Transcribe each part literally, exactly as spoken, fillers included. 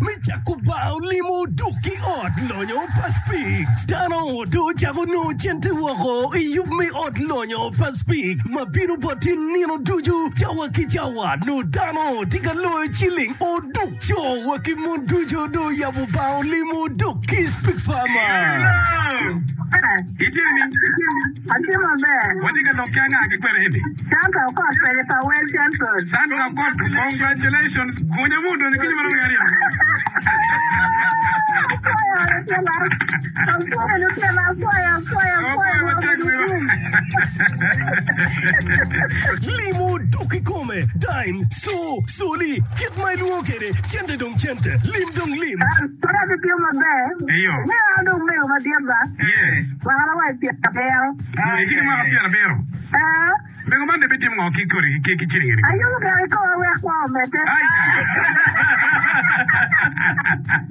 Me cako bao limo duk ki ot lonyo pa Speke. Dano do cako nongo cente woko i yub me ot lonyo pa Speke ma bino boti nino ducu cawa ki cawa no dano tye ka loyo ciling oduk co wa ki mon ducu do yabo bao limo duk ki Speke Farmer. Itye ni? Atye maber. Watye ka lok ki anga ki kwene eni? Sandra Okot pede pa Well Central. Sandra Okot, congratulations. Gunya mu donyo kinyo marom aryo. Apwoyo lutela. Apwoyo lutela. Apwoyo, apwoyo, apwoyo. Apwoyo matek wiwa. Limo duk i kome, dime, so, soli, kit ma ilwongo kwede, cente dong cente, lim dong lim. Kore atye maber. Iyo. Me an dong mego madit ba. Yes. Mwaka wa pyera abiro. Itye ki mwaka pyera abiro. Eh, Mego man de bitimo ngo ki kodi ki ki ciling eni? ayubo gire kikomo wek kwo omedde. Ai.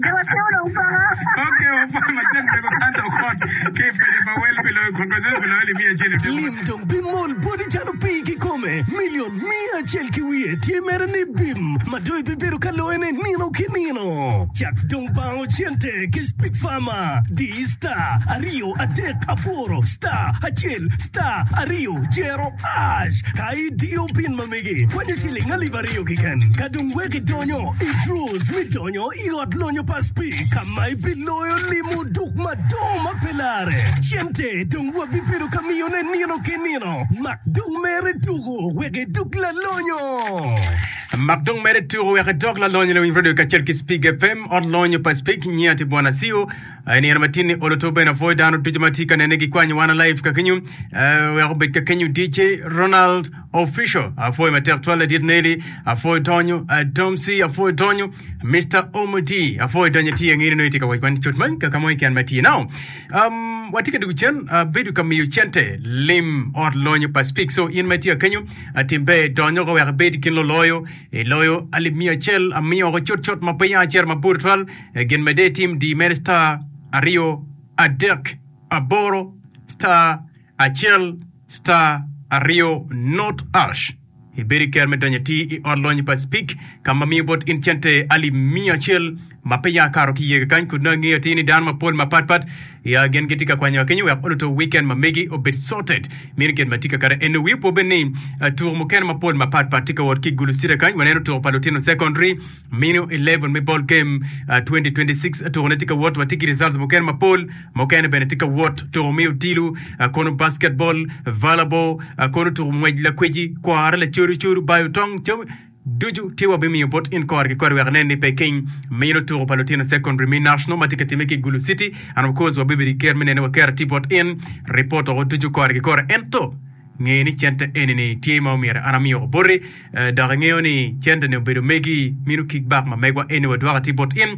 Jo matino dong paka. Okay, wapwoyo matek mego Sandra Okot ki pede pa wel pi loyo congratulations pi loyo alip miya acel. Lim dong bimol boti calo pii kikome milion mia acel ki wiye tye mere ni bim ma dong ibibedo ka loyone nino ki nino cak dong bango cente ki Speke Farmer di star aryo adek aboro star acel star aryo jero hash ka idiyo pin ma megi kwanyo ciling alip aryo keken ka dong wek idonyo i draws mi donyo i ot lonyo pa Speke ka ma ibiloyo limo duk madongo ma pe lare cente dong wabibedo ka miyone nino ki nino mak dong mere tuko wek iduk lalonyo Mak dong mere tuko wek idok lalonyo lewiny radio kacel ki Speke FM ot lonyo pa Speke nyia ti bwana CEO nino matin ni olo to bene apwoyo dano ducu ma tye ka nene gikwanyo wana live ka kenyo eh, wek obed ka kenyo DJ Ronald Official apwoyo matek twal ladit Nelly apwoyo donyo uh, Domsi apwoyo donyo Mr. Omodi apwoyo donyo tye angeri no itye ka wac wan cut man ka kamo iken ma tye now um, watye ka dugu cen uh, bedo ka miyo cente lim ot lonyo pa Speke so in ma itye ka kenyo atim ber donyo ko wek ibed i kin loloyo iloyo alip miya acel amiyo oko cut ma piny acel mabor twal Eh, gin mede tim di mere star aryo adek aboro star acel star aryo not hash ibedo i ker me donyo ti i ot lonyo pa Speke ka ma miyo bot in cente alip miya acel ma pe ya kato ki iye kany kun nongo ingeyo atir ni dano mapol mapatpat ya gin gitye ka kwanyo kenyo wek oluto weekend ma megi obed sorted mino gin ma tye ka kare eno wi opo bene ni uh, tuko mukene mapol mapatpat tye ka wot ki Gulu City kany waneno tuko pa lutino secondary mino eleven me ball game uh, twenty twenty-six tuko ne tye ka wot watye ki results mukene mapol mukene bene tye ka wot tuko mi odilu uh, kono basketball, volleyball, uh, kono tuko ngwec lakweci kware lacodo codo bayo tong cam ducu tye wabimiyo bot in kore ki kore wek nen ni pe king mino tuko pa lutino secondary mi national ma tye ka time ki Gulu City and of course wabibedo i ker me nene wakero tye bot in report oko ducu kore ki kore ento nge ni cente eni ni tye ma omyero an amiyo boti eh, dok ingeyo ni cente ni obedo megi mino kickback ma megwa eni wadwoko tye bot in.